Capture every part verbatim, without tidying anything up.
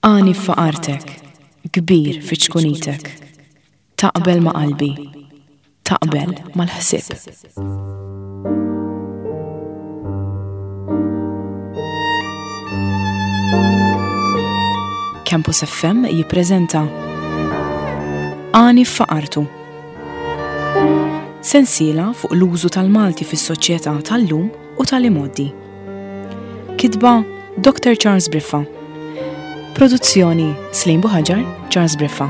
Għani f'faqartek, kbir fi ċkunitek. Taqbel ma' qalbi, taqbel mal-ħsieb. Campus F M jippreżenta Għani f'faqartu. Sensiela fuq l-użu tal-Malti fis-soċjetà tal-lum u tal-imgħoddi. Kitba Doctor Charles Briffa. Produzzjoni Slim Buhaġar, Charles Briffa.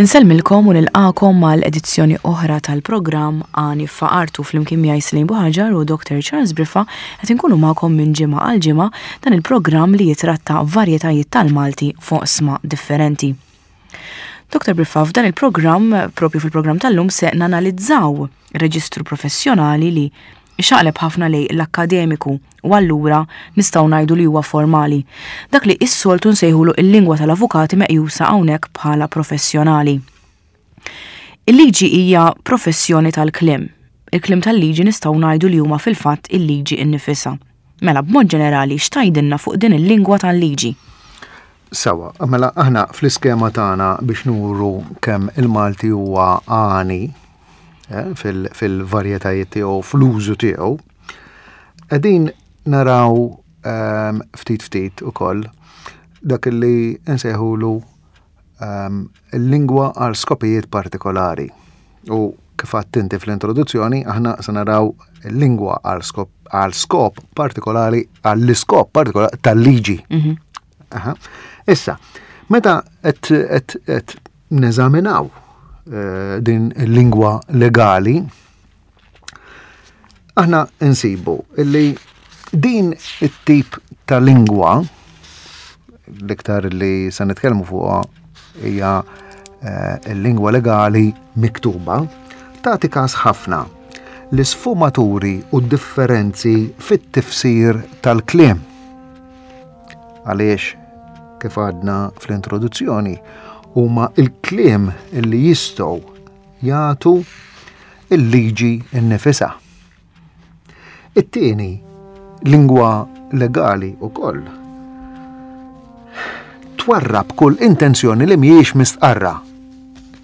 Insellmilkom u nilqakom mal-edizzjoni oħra tal-programm Għani f'Faqartu flimkien miegħi Slim Buhaġar u Doctor Charles Briffa qed inkunu magħkom minn ġimgħa għal ġimgħa dan il-programm li jitratta varjetajiet tal-Malti fuq sma differenti. Doctor Briffa, f'dan il-programm, propju fil-programm tal-lum, se nanalizzaw reġistru professjonali li xaqleb ħafna lej l-akkademiku u allura nistgħu ngħidu li huwa formali. Dak li s-soltu nsejħulu il-lingwa tal-avukati meqjusa hawnhekk bħala professjonali. Il-liġi hija professjoni tal-kliem. Il-kliem tal-liġi nistgħu ngħidu li huma fil-fatt il-liġi innifisha. Mela b'mod ġenerali x'tgħidilna fuq din il-lingwa tal-liġi? Sawa, mela aħna fl-iskema tagħna biex nuru kemm il-Malti huwa għani, eh, fil-, fil-varjetajiet tiegħu, fl-użu tiegħu, qegħdin naraw, ehm, ftit ftit ukoll dak li nsejħulu, ehm, il-lingwa għal skopijiet partikolari. U kif għedt inti fl-introduzzjoni, aħna se naraw il-lingwa għal skop, għal skop partikolari, għall-iskop partikolari tal-liġi. Mhm. Aha. Issa, meta qed, qed, qed neżaminaw, eh, din il-lingwa legali, aħna nsibu illi din it-tip ta' lingwa, l-iktar li se nitkellmu fuqha hija, eh, il-lingwa legali miktuba, tagħti każ ħafna l-isfumaturi u d-differenzi fit-tifsir tal-kliem. Għaliex, kif għadna fl-introduzzjoni, huma il-kliem illi jistgħu jagħtu il-liġi nnifisha. It-tieni, lingwa legali wkoll twarrab kull intenzjoni li mhijiex mistqarra.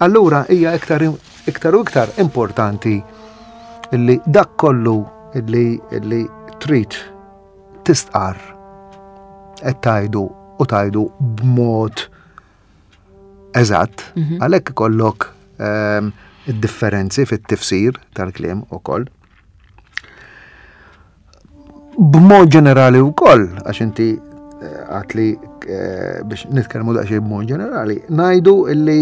Allura hija iktar, iktar u iktar importanti illi dak kollu illi, illi trid tistqarr qed tgħidu u tgħidu b'mod eżatt, Mhm. għalhekk ikollok, ehm, id-differenzi fit-tifsir tal-kliem ukoll. B'mod ġenerali wkoll, għax inti, eh, għat li, eh, biex nitkellmu daqsxejn b'mod ġenerali, ngħidu illi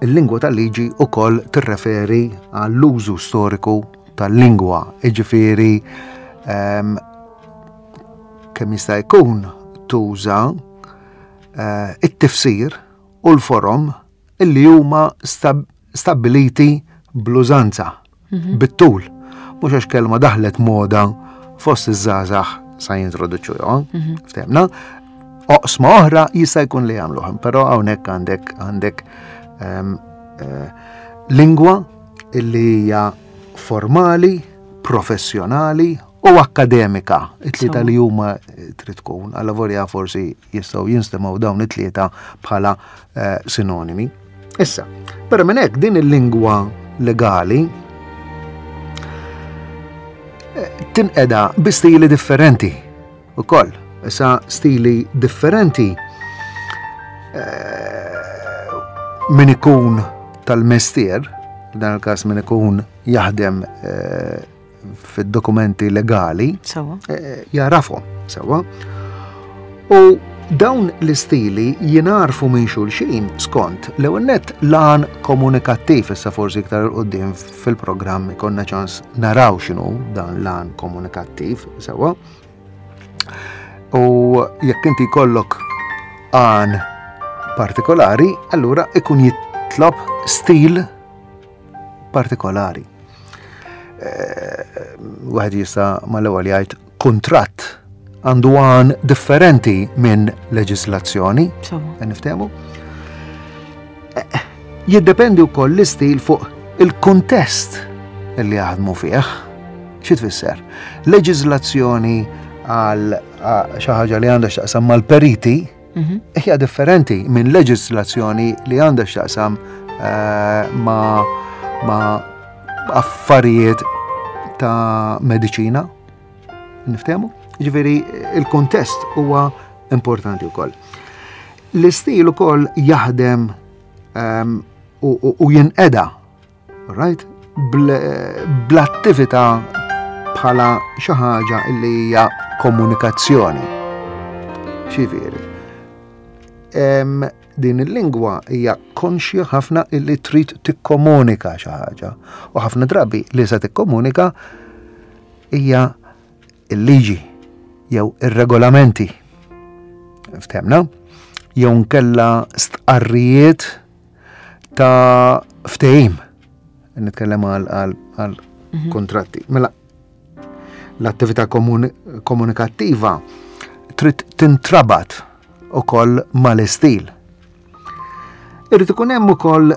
il-lingwa tal-liġi wkoll tirreferi għall-użu storiku tal-lingwa, jiġifieri, ehm, kemm jista' jkun tuża, eh, it-tifsir u l-forom illi huma stab-, stabbiliti bl-użanza, Mhm. bit-tul. Mhux għax kelma daħlet moda fost iż-żgħażagħ sa jintroduċuha, Mhm. ftehmna. Oqsma oħra jista' jkun li jagħmluhom, però hawnhekk għandek, għandek, ehm, eh, lingwa illi hija formali, professjonali u akkademika. It-tlieta Sewa. li huma trid tkun, alla volja forsi jistgħu jinstemgħu dawn it-tlieta bħala, eh, sinonimi. Issa, però minn hekk din il-lingwa legali, eh, tinqeda bi stili differenti ukoll. Issa stili differenti, eh, min ikun tal-mestier, f'dan il-każ min ikun jaħdem, eh, fid-dokumenti legali, Sewa. eh, jarafhom sewa. U dawn l-istili jinarfu minn xulxin skont l-ewwel nett l-għan komunikattiv. Issa forsi iktar 'il quddiem fil-programm ikollna ċans naraw x'inhu dan l-għan komunikattiv sewa. U jekk inti jkollok għan partikolari, allura ikun jitlob stil partikolari. Eh, wieħed jista' mal-ewwel jgħid kuntratt għandu għan differenti minn leġislazzjoni. Sewa. Qed niftehmu? Eh, jiddependi wkoll l-istil fuq il-kuntest li jaħdmu fih. Xi tfisser? Leġiżlazzjoni għal xi ħaġa li għandha x'taqsam mal-periti Mhm. hija differenti minn leġiżlazzjoni li għandha x'taqsam eh, ma' ma' affarijiet ta' mediċina. Niftehmu? Ġifieri il-kuntest huwa importanti wkoll. L-istil ukoll jaħdem ehm, u, u, u jinqeda, right? Bl- Bl-attività bħala xi ħaġa li hija komunikazzjoni. Xifieri. Em, din il-lingwa hija konxja ħafna illi trid tikkomunika xi ħaġa. U ħafna drabi li se tikkomunika hija il-liġi jew ir-regolamenti. Ftehmna? Jew nkella stqarrijiet ta' ftehim. Nitkellem għal għal għal kontratti. Mela l-attività komuni komunikattiva trid tintrabat ukoll mal-istil. Irid ikun hemm ukoll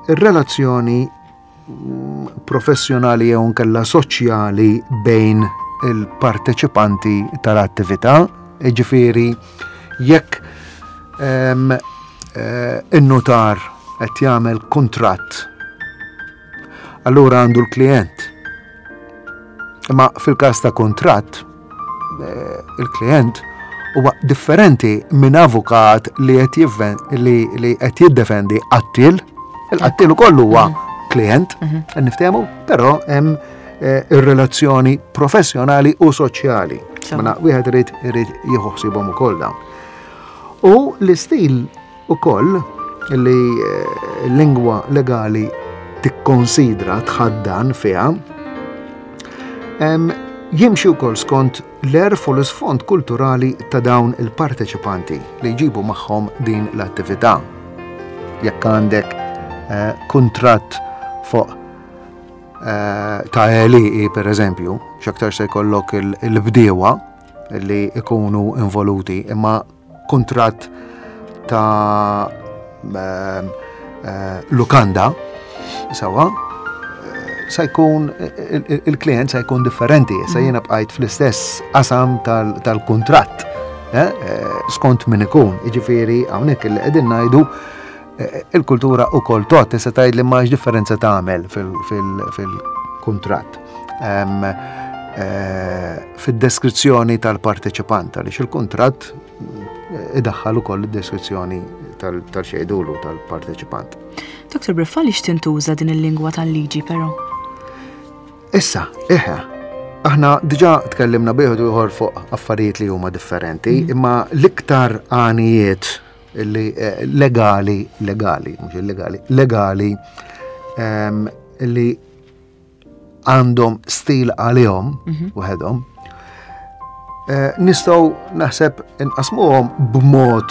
relazzjoni mm, professjonali jew nkella soċjali bejn il-parteċipanti tal-attività, jiġifieri jekk em, eh, in-notar qed jagħmel kuntratt, allura għandu l-klient. Imma fil-każ ta' kuntratt, eh, il-klient huwa differenti minn avukat li qed jivven- li li qed jiddefendi qattil. Il-qattil ukoll huwa klient, niftehmu, però hemm eh, ir-relazzjoni professjonali u soċjali. Sewa. Mela wieħed irid irid jieħu ħsiebhom ukoll dawn. U l-istil ukoll li eh, l-lingwa legali tikkonsidra tħaddan fiha em, jimxi wkoll skont l-għerf u l-isfond kulturali ta' dawn il-parteċipanti li jġibu magħhom din l-attività. Jekk għandek eh, kuntratt fuq eh, ta' għelieqi per eżempju, x'aktar se jkollok il- il-bdiewa li ikunu involuti, imma kuntratt ta' eh, eh, lukanda, sawa, eh, sa jkun il- il- il-klient sa jkun differenti, sa jiena bqajt fl-istess qasam tal- tal-kuntratt, eh, eh, skont min ikun. Jiġifieri hawnhekk li qegħdin ngħidu eh, il-kultura ukoll tot, tista' tgħid li ma differenza tagħmel fil-kuntratt. Em, eh, Fid-deskrizzjoni tal-parteċipant, għaliex il-kuntratt eh, idaħħal ukoll id-deskrizzjoni tal-xejdulu tal-parteċipant. Dr. Briffa li tintuża din il-lingwa tal-liġi però? Issa, eħe, aħna diġa tkellimna bieħed u ieħor fuq affarijiet li huma differenti, imma l-iktar għanijiet li eh, legali, legali, mhux illegali, legali em, li għandhom stil għalihom waħedhom, eh, nistgħu naħseb inqasmuhom b'mod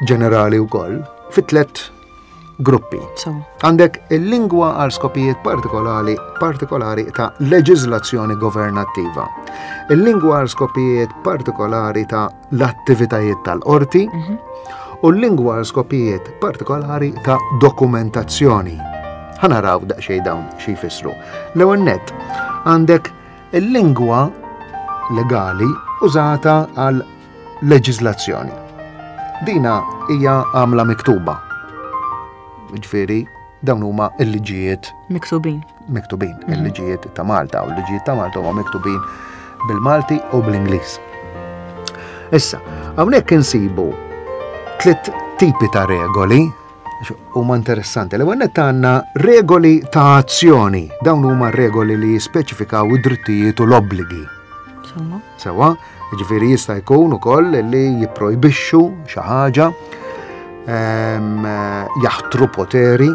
ġenerali wkoll fi tliet gruppi. So, Għandek il-lingwa għal skopijiet partikolari, partikolari ta' leġiżlazzjoni governattiva. Il-lingwa għal skopijiet partikolari ta' l-attivitajiet tal-qorti u l-lingwa għal skopijiet partikolari ta' dokumentazzjoni. Ħa naraw daqsxejn dawn xi jfissru. L-ewwel nett għandek il-lingwa legali użata għal leġiżlazzjoni. Dina hija għamla miktuba. Ġifieri, dawn huma il-liġijiet miktubin. miktubin, il-liġijiet ta' Malta, u l-liġijiet ta' Malta huma miktubin bil-Malti u bl-Ingliż. Issa, hawnhekk insibu tliet tipi ta' regoli huma interessanti. L-ewwel nett għandna regoli ta' azzjoni. Dawn huma regoli li jispeċifikaw id-drittijiet u l-obbligi. Insomma. Sewa, ġifieri jista' jkun ukoll li jipprojbixxu xi ħaġa, em, jaħtru poteri,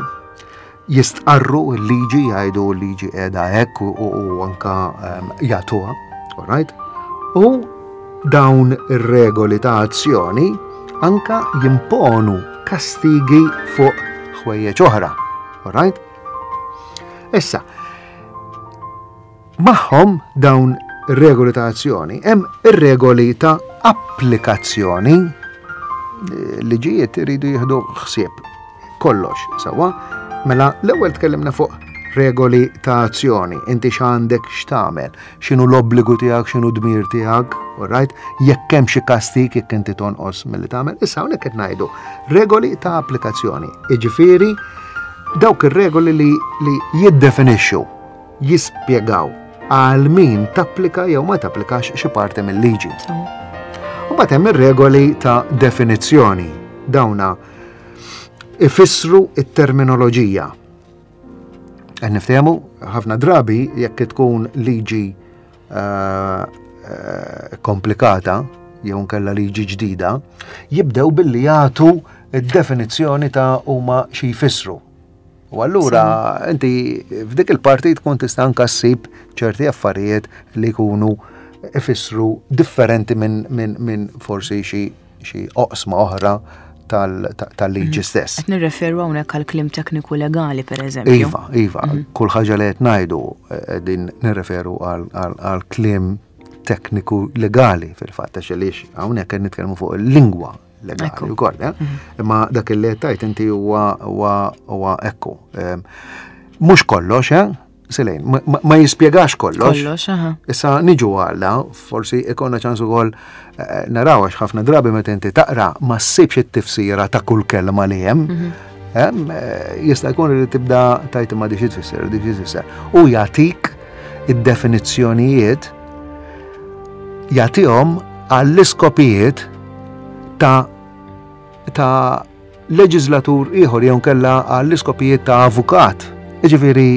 jistqarru l-liġi, jgħidu l-liġi qiegħda hekk u, u, u anka em, jagħtuha, all right? U dawn ir-regoli ta' azzjoni anka jimponu kastigi fuq ħwejjeġ oħra, all right? Issa, magħhom dawn ir-regoli ta' azzjoni hemm ir-regoli ta' applikazzjoni. Liġijiet iridu jieħdu ħsieb kollox, sewwa. Mela l-ewwel tkellimna fuq Regoli ta' azzjoni, inti x'għandek x'tagħmel, x'inhu l-obbligu tiegħek, x'inhu dmir tiegħek, alright? Jekk hemm xi kastig jekk inti tonqos milli tagħmel. Issa hawnhekk qed ngħidu regoli ta' applikazzjoni. Jiġifieri dawk ir-regoli li, li jiddefinixxu, jispjegaw għal min tapplika jew ma tapplikax xi parti mill-liġi. U mbagħad hemm ir-regoli ta' definizzjoni. Dawna ifissru it-terminoloġija. Qed niftehmu ħafna drabi jekk tkun liġi eh, eh, komplikata jew nkella liġi ġdida, jibdew billi jagħtu id-definizzjoni ta' huma xi jfissru. U allura inti f'dik il-parti tkun tista' anka ssib ċerti affarijiet li jkunu ifissru differenti minn min, min forsi xi xi oqsma oħra tal-liġi stess. Qed nirreferu hawnhekk għal kliem tekniku legali, per eżempju. Iva, iva, kull ħaġa li qed ngħidu qegħdin nirreferu għal kliem tekniku legali fil-fatt, għax għaliex hawnhekk qed nitkellmu fuq il-lingwa legali wkoll, eh? Imma dak li qed tgħid inti huwa huwa ekku. Mhux kollox, eh? Selejn, ma jispjegax kollox. Kollox, aha. Issa niġu għalla, forsi ikonna ċans ukoll eh, naraw għax ħafna drabi meta inti taqra ma ssibx it-tifsira ta' kull kelma li hemm. Mhm. Eh, jista' jkun li tibda tajt ma di xi tfisser, di xi tfisser. U jagħtik id-definizzjonijiet, jagħtihom għall-iskopijiet ta' ta' leġislatur ieħor jew kella għall-iskopijiet ta' avukat. Jiġifieri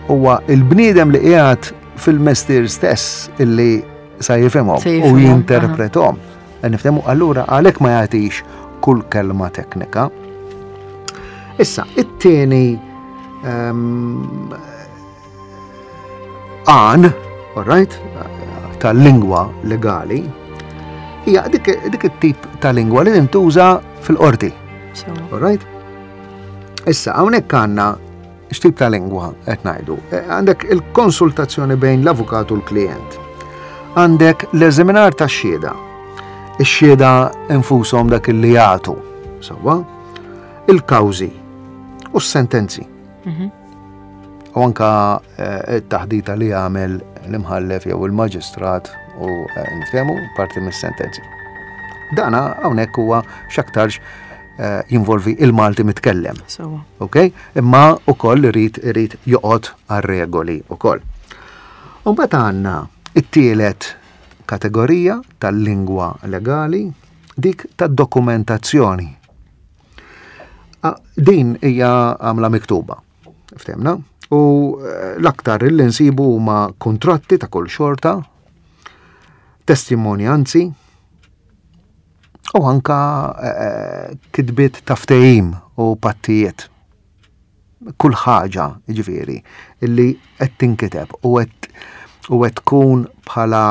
huwa il-bniedem li qiegħed fil-mestier stess illi sa jifhimhom u jinterprethom. Niftehmu, allura għalhekk ma jagħtix kull kelma teknika. Issa, it-tieni ehm, għan, all right, tal-lingwa legali, hija dik, dik it-tip ta' lingwa li tintuża fil-qorti. All right? Issa, hawnhekk għandna x'tip ta' lingwa qed ngħidu. Eh, għandek il-konsultazzjoni bejn l-avukat u l-klient. Għandek l-eżaminar tax-xhieda. Ix-xhieda infushom dak li jagħtu. Sewwa? Il-kawżi u s-sentenzi. Mhm. U anka eh, it-taħdita li jagħmel l-imħallef jew il-maġistrat u eh, niftehmu parti mis-sentenzi. Dana hawnhekk huwa x'aktarx eh, jinvolvi il-Malti mitkellem. Ok? Imma ukoll irid irid joqgħod għar-regoli ukoll. U mbagħad għandna it-tielet kategorija tal-lingwa legali, dik tad-dokumentazzjoni. Din hija għamla miktuba. Ftehmna? U eh, l-aktar li nsibu huma kontratti ta' kull xorta, testimonjanzi, u anka eh, kitbiet ta' ftehim u pattijiet. Kull ħaġa, ġifieri, illi qed tinkiteb u qed u qed tkun bħala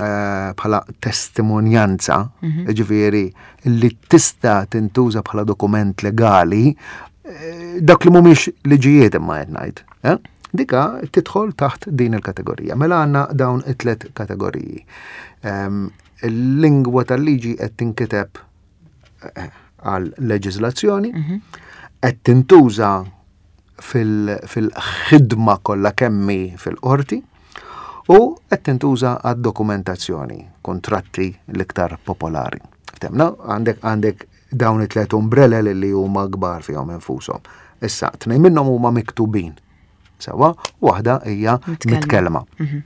eh, bħala testimonjanza, mhm. ġifieri, illi tista' tintuża bħala dokument legali, eh, dak li mhumiex liġijiet imma qed ngħid. Eh? Dika tidħol taħt din il-kategorija. Mela għandna dawn it-tlet kategoriji. Il-lingwa tal-liġi qed tinkiteb eh, għal leġiżlazzjoni, mhm. qed tintuża fil-ħidma kollha kemmi fil-qorti u qed tintuża għad dokumentazzjoni, kontratti l-iktar popolari. Ftehmna, għandek għandek dawn it-tlet umbrella li huma kbar fihom infushom. Issa, tnejn minnhom huma miktubin. Sewwa, waħda hija mitkellma. Mhm.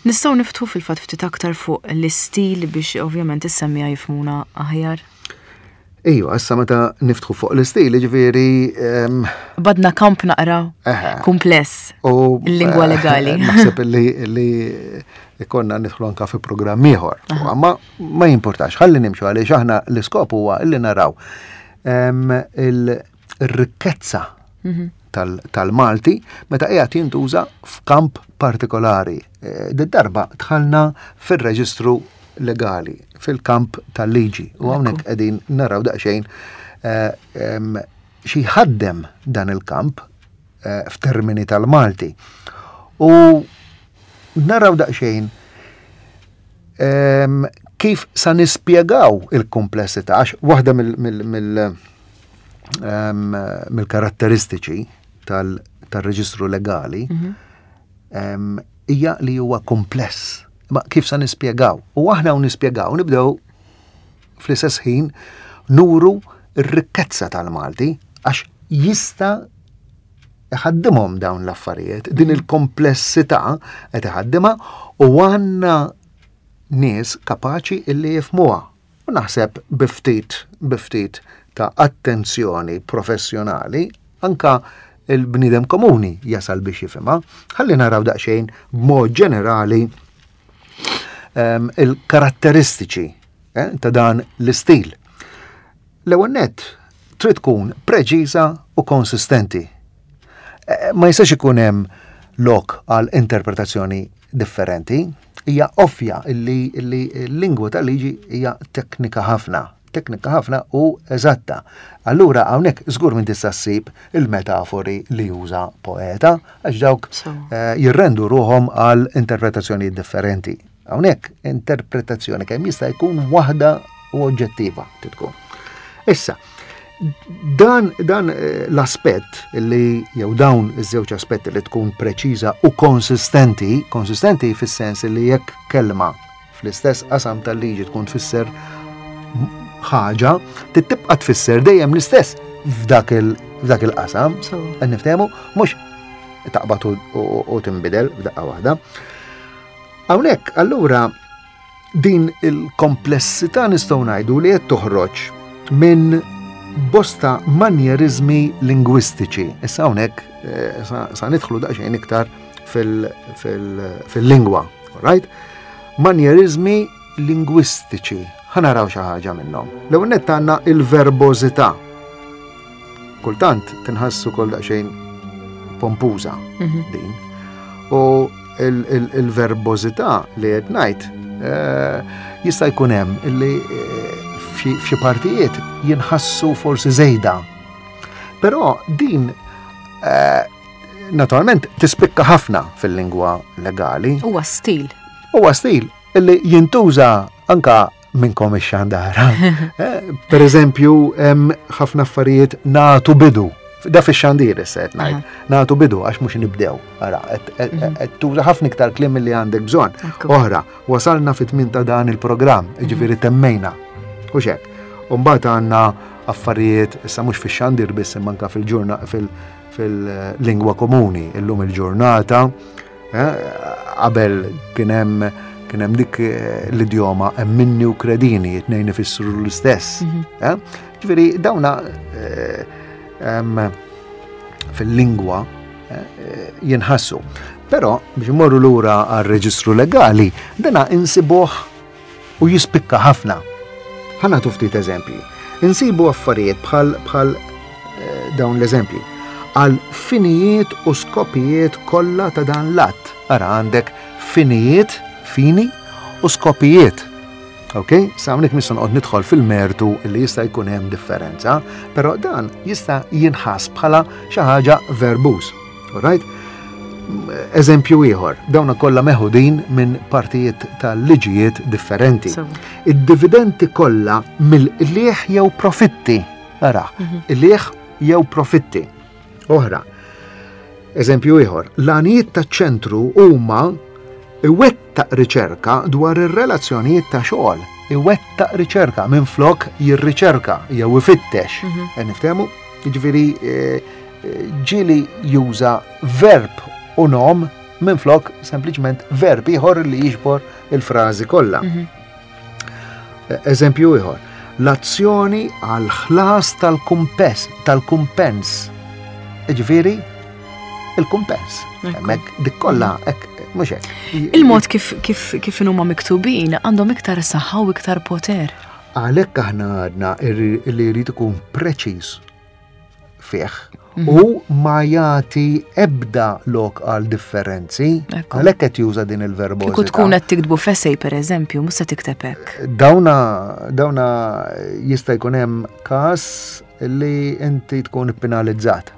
Nistgħu niftħu fil-fatt ftit aktar fuq l-istil biex ovvjament is-semmiegħa jifhmuna aħjar. Ejwa, issa meta niftħu fuq l-istil, ġifieri. Badna kamp naqra kumpless. U il-lingwa eh, legali. Naħseb li li ikonna nidħlu anka fi programm ieħor. Ma ma jimportax, ħalli nimxu għaliex aħna l-iskop huwa illi naraw il-rikkezza mhm. tal-Malti meta qiegħed jintuża f'kamp partikolari. Eh, Did-darba dħalna fir-reġistru legali, fil-kamp tal-liġi. U hawnhekk qegħdin naraw daqsxejn eh, xi ħaddem dan il-kamp eh, f'termini tal-Malti. U naraw daqsxejn kif sa nispjegaw il-komplessità, għax waħda mill-karatteristiċi tar-reġistru legali mhm. hija li huwa kompless. Ma kif sa nispjegaw? U aħna u nispjegaw, nibdew fl-istess ħin nuru r-rikkezza tal-Malti għax jista' iħaddimhom dawn l-affarijiet, din il-komplessità qed iħaddimha u għandna nies kapaċi illi jifhmuha. U naħseb bi ftit bi ftit ta' attenzjoni professjonali anka il-bniedem komuni jasal biex jifhimha. Ħalli naraw daqsxejn b'mod ġenerali um, il-karatteristiċi eh, ta' dan l-istil. L-ewwel nett trid tkun preċiża u konsistenti. Eh, ma jistax ikun hemm lok għal interpretazzjoni differenti. Hija ovvja illi l-lingwa tal-liġi hija teknika ħafna, teknika ħafna u eżatta. Allura hawnhekk żgur minn tista' ssib il-metafori li juża poeta għax dawk eh, jirrendu ruhom għal interpretazzjoni differenti. Hawnhekk interpretazzjoni kemm jista' jkun waħda u oġġettiva tkun. Issa, dan, dan eh, l-aspett li jew dawn iż-żewġ aspetti li tkun preċiża u konsistenti, konsistenti fis-sens li jekk kelma fl-istess qasam tal-liġi tkun tfisser ħaġa, tibqa' tfisser dejjem l-istess f'dak il-qasam. Qed niftehmu mhux taqbad u tinbidel f'daqqa waħda. Hawnhekk allura din il-komplessità nistgħu ngħidu li qed toħroġ minn bosta manjerizmi lingwistiċi. Issa hawnhekk eh, sa nidħlu daqsxejn iktar fil-lingwa, right? Manjerizmi lingwistiċi. Ħa naraw xi ħaġa minnhom. L-ewwel nett għandna il-verbożità. Kultant tinħassu kol daqsxejn pompuża mhm. din. U il-verbożità li qed ngħid eh, jista' jkun hemm illi eh, f'xi partijiet jinħassu forsi żejda. Però din eh, naturalment tispikka ħafna fil-lingwa legali. Huwa stil. Huwa stil illi jintuża anka minnkom ix-xandara. Per eżempju, hemm ħafna affarijiet nagħtu bidu. Da fix-xandir issa qed ngħid. Nagħtu bidu għax mhux nibdew. Ara, qed mhm. tuża ħafna iktar kliem milli għandek bżonn. Oħra, wasalna fit-tmien ta' dan il-programm, jiġifieri temmejna. U xek. U mbagħad għandna affarijiet issa mhux fix-xandir biss imma anke fil-ġurna fil-lingwa komuni, illum il-ġurnata, eh, qabel kien hemm kien hemm dik eh, l-idjoma hemm minni u kredini, it-tnejn ifissru l-istess. Mhm. Eh? Ġifieri dawna fil-lingwa jinħassu. Però biex imorru lura għar-reġistru legali, dana insibuh u jispikka ħafna. Ħa nagħtu ftit eżempji. Insibu affarijiet bħal bħal eh, dawn l-eżempji. Għal finijiet u skopijiet kollha ta' dan l-att. Ara għandek finijiet, fini u skopijiet. Ok? Sa hawnhekk mhux noqgħod nidħol fil-mertu li jista' jkun hemm differenza, però dan jista' jinħass bħala xi ħaġa verbuż. Alright? Eżempju ieħor, dawna kollha meħudin minn partijiet tal-liġijiet differenti. Id-dividendi kollha mill-qligħ jew profitti. Ara, mhm. qligħ jew profitti. Oħra, eżempju ieħor, l-għanijiet taċ-ċentru huma iwettaq riċerka dwar ir-relazzjonijiet ta' xogħol. Iwettaq riċerka minn flok jirriċerka jew ifittex. Mhm. Qed niftehmu? Jiġifieri eh, ġieli juża verb u nom minn flok sempliċement verb ieħor li jiġbor il-frażi kollha. Mhm. Eżempju ieħor, l-azzjoni għal ħlas tal-kumpens, tal-kumpens. Ġifieri, il-kumpens. Hemmhekk dik kollha hekk mhux hekk. Il-mod kif kif kif huma miktubin għandhom iktar saħħa u iktar poter. Għalhekk aħna għadna li jrid ikun preċiż fih mhm. u ma jagħti ebda lok għal differenzi, għalhekk qed juża din il-verbożità. Kieku tkun qed tiktbu f'essay pereżempju, mhux se tikteb hekk. Dawna dawna jista' jkun hemm każ li inti tkun penalizzat.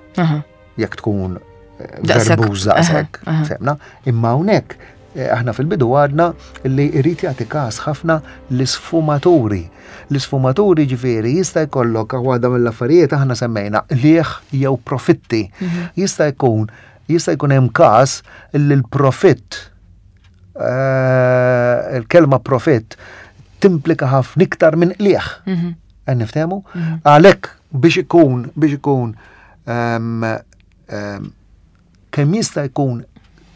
Jekk tkun eh, verbuż daqshekk, semna, imma hawnhekk Aħna fil-bidu għadna li jrid jagħti każ ħafna l-isfumaturi. L-isfumaturi ġifieri jista' jkollok waħda mill-affarijiet aħna semmejna qligħ jew profitti. Mhm. Jista' jkun jista' jkun hemm każ li l-profitt, eh, il-kelma profitt timplika ħafna iktar minn qligħ. Mhm. Qed niftehmu? Mhm. Għalhekk biex ikun biex ikun kemm jista' jkun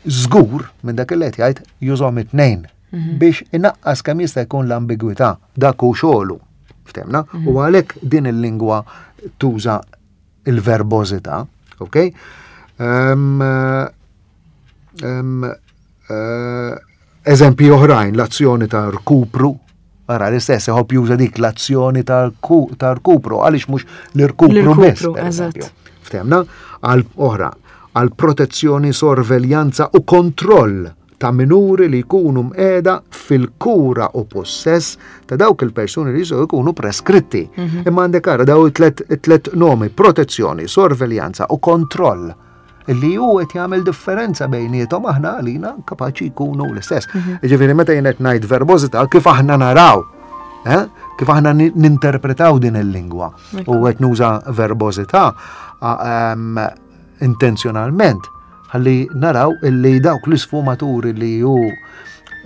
żgur minn dak li qed jgħid, jużahom it-tnejn mhm. biex inaqqas kemm jista' jkun l-ambigwità. Dak hu xogħlu. Ftehmna? Mhm. U għalhekk din il-lingwa tuża il-verbożità, ok? Um, um, uh, eżempji oħrajn, l-azzjoni ta' rkupru, ara l-istess, iħobb juża dik l-azzjoni ta' rkupru, għaliex mhux l-irkupru biss. Ftehmna? Għal oħra, għal protezzjoni, sorveljanza u kontroll ta' minuri li jkunu mqiegħda fil-kura u possess ta' dawk il-persuni li jistgħu jkunu preskritti. Mhm. Imma għandek ara daw it-tlet nomi, protezzjoni, sorveljanza u kontroll, illi hu qed jagħmel differenza bejniethom, aħna għalina kapaċi jkunu l-istess. Mhm. Ġifieri meta jien qed ngħid verbożità kif aħna naraw, eh? Kif aħna ninterpretaw din il-lingwa u qed nuża verbożità intenzjonalment ħalli naraw illi dawk l-isfumaturi li hu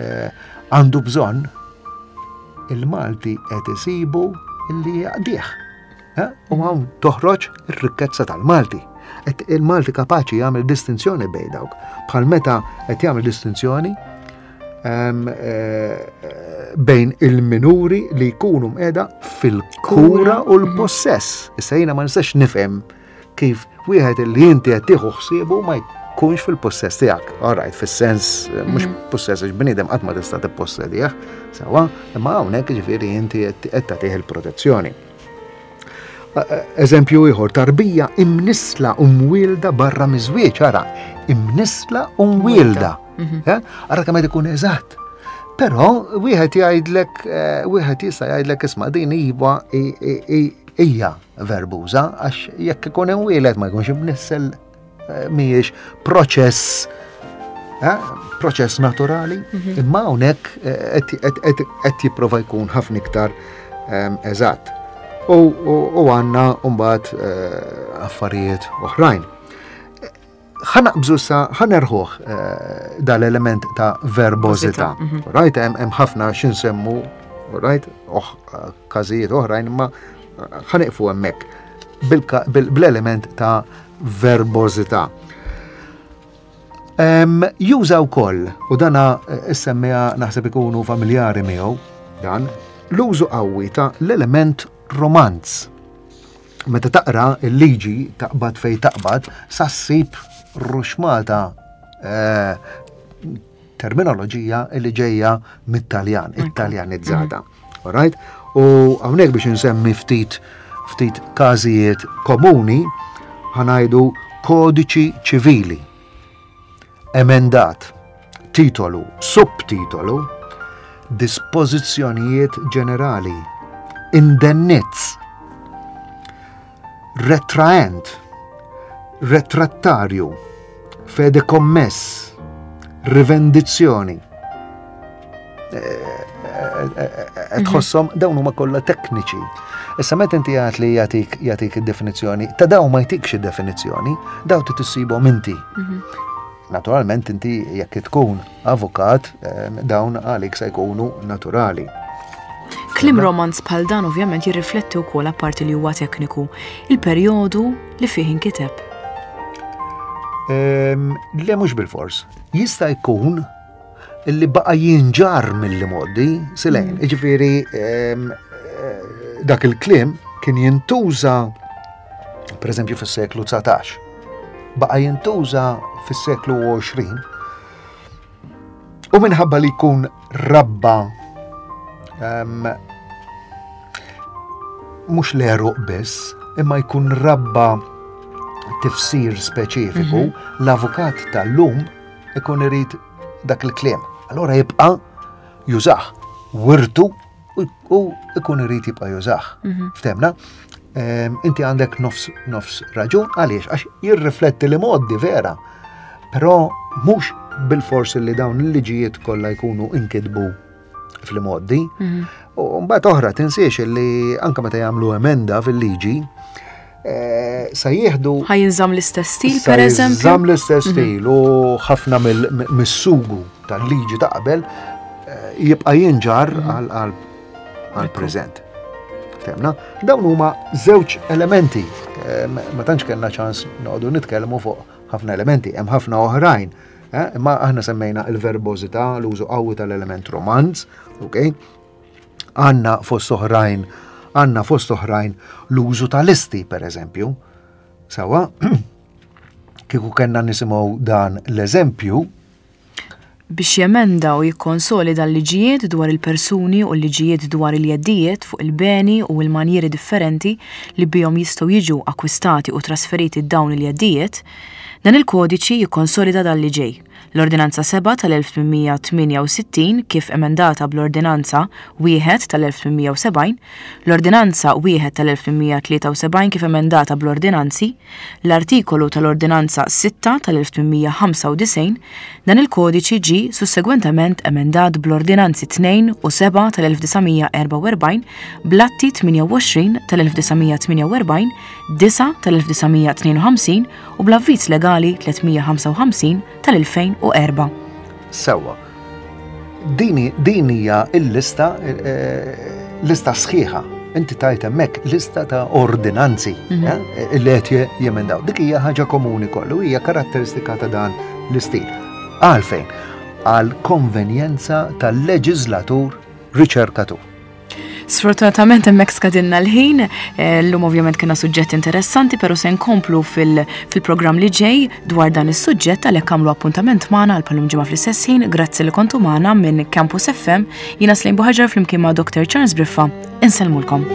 eh, għandu bżonn il-Malti qed isibu illi jaqdih. Eh? U hawn toħroġ ir-rikkezza tal-Malti. Il-Malti kapaċi jagħmel distinzjoni bejn dawk. Bħal meta qed jagħmel distinzjoni eh, bejn il-minuri li jkunu mqiegħda fil-kura u l-possess. Issa jiena ma nistax nifhem kif wieħed li inti qed tieħu ħsiebu ma jkunx fil-possess tiegħek. All right, fis-sens mhux mhm. possess, għax bniedem qatt ma tista' tippossedih, sewwa, imma hawnhekk ġifieri inti qed tagħtih il-protezzjoni. Eżempju ieħor, tarbija imnisla u mwielda barra miż-żwieġ, ara, imnisla u mwielda. Mhm. Eh? Ara kemm qed ikun eżatt. Però wieħed jgħidlek, eh, wieħed jista' jgħidlek, isma', din iva hija verbuża, għax jekk ikun imwieled ma jkunx imnissel, eh, mhijiex proċess proċess naturali, mhm. imma hawnhekk qed jipprova jkun ħafna iktar eżatt. U għandna mbagħad affarijiet oħrajn. Ħa naqbżu sa ħa nerħuh eh, dal-element ta' verbożità. Mhm. Right, hemm ħafna x'insemmu, right, oħ każijiet oħrajn, imma ħa nieqfu hemmhekk bl-element ta' verbożità. Juża wkoll, u dana eh, issemmija naħseb ikunu familjari miegħu dan, l-użu qawwi ta' l-element romanz. Meta taqra il-liġi, taqbad fej taqbad, sa ssib ruxmata eh, terminoloġija li ġejja mit-Taljan, Italjanizzata. Mhm. Alright? U hawnhekk biex insemmi ftit ftit każijiet komuni, ħa ngħidu kodiċi ċivili, emendat, titolu, subtitolu, dispożizzjonijiet ġenerali, indennizz, retraent, retrattarju, fedekommess, rivendizzjoni. Eh, tħossom dawn huma kollha tekniċi. Issa meta inti għat li jagħtik jagħtik id-definizzjoni, ta' dawn ma jtikx id-definizzjoni, daw trid issibhom inti. Mhm. Naturalment inti jekk tkun avukat, eh, dawn għalik se jkunu naturali. Kliem romanz bħal dan ovvjament jirrifletti wkoll, apparti li huwa tekniku, il-perjodu li fih inkiteb. Ehm, le, mhux bil-fors. Jista' jkun illi baqa' jinġar mill-modi silejn. Mm. Ġifieri ehm, eh, dak il-kliem kien jintuża per eżempju fis-seklu dsatax. Baqa' jintuża fis-seklu għoxrin u minħabba li jkun rabba um, mhux l-għeruq biss, imma jkun rabba tifsir speċifiku, mm -hmm. l-avukat tal-lum ikun irid dak il-kliem. Allora jibqa' jużah, wirtu u ikun irid jibqa' jużah. Mhm. Ftehmna? Inti għandek nofs, nofs raġun, għaliex? Għax jirrifletti l-imgħoddi vera, però mhux Bil-fors li dawn il-liġijiet kollha jkunu inkitbu fl-imgħoddi. U mbagħad oħra, tinsiex li anke meta jagħmlu emenda fil-liġi, eh, sa jieħdu Ħa jinżamm l-istess stil, sa per eżempju? jinżamm l-istess stil u ħafna mill- mis-sugu tal-liġi ta' qabel eh, jibqa' jinġar għal għal għal preżent. Ftemna? Dawn huma żewġ elementi. Eh, Ma tantx kellna ċans noqogħdu nitkellmu fuq ħafna elementi, hemm ħafna oħrajn. eh, Imma aħna semmejna il-verbożità, l-użu qawwi tal-element romanz, ok? Għandna fost oħrajn, għandna fost oħrajn l-użu tal-listi, per eżempju. Sawa, kieku kellna nisimgħu dan l-eżempju, Biex jemenda u jikkonsolida l-liġijiet dwar il-persuni u l-liġijiet dwar il-jeddijiet fuq il-beni u l-manjieri differenti li bihom jistgħu jiġu akkwistati u trasferiti dawn il-jeddijiet, dan il-kodiċi jikkonsolida dan li ġej. L-Ordinanza sebgħa tal-elf tmien mija tmienja u sittin kif emendata bl-Ordinanza wieħed tal-elf tmien mija sebgħin, l-Ordinanza wieħed tal-elf tmien mija tlieta u sebgħin kif emendata bl-Ordinanzi, l-artikolu tal-Ordinanza sitta tal-elf tmien mija ħamsa u disgħin, dan il-kodiċi ġi sussegwentement emendat bl-Ordinanzi tnejn u sebgħa tal-elf disa' mija erbgħa u erbgħin, bl-Atti tmienja u għoxrin tal-elf disa' mija tmienja u erbgħin, disgħa tal-elf disa' mija tnejn u ħamsin u bl-Avviż Legali tliet mija ħamsa u ħamsin tal-elfejn u erbgħa. Sewwa. Dini, din hija il-lista, eh, lista sħiħa. Inti tajt hemmhekk lista ta' ordinanzi eh, li qed jemendaw. Dik hija ħaġa komuni kollu, hija karatteristika ta' dan l-istil. Għalfejn? Għal konvenjenza tal-leġislatur riċerkatur. Sfortunatament hemmhekk skadinna l-ħin, eh, llum ovvjament kien suġġett interessanti, pero se nkomplu fil- fil-programm li ġej dwar dan is-suġġett, għalhekk għamlu appuntament magħna għal bħal-lum ġimgħa fl-istess ħin. Grazzi li kontu magħna minn Campus F M. Jiena Slejn Buħaġar flimkien ma' Doctor Charles Briffa. Insellmulkom.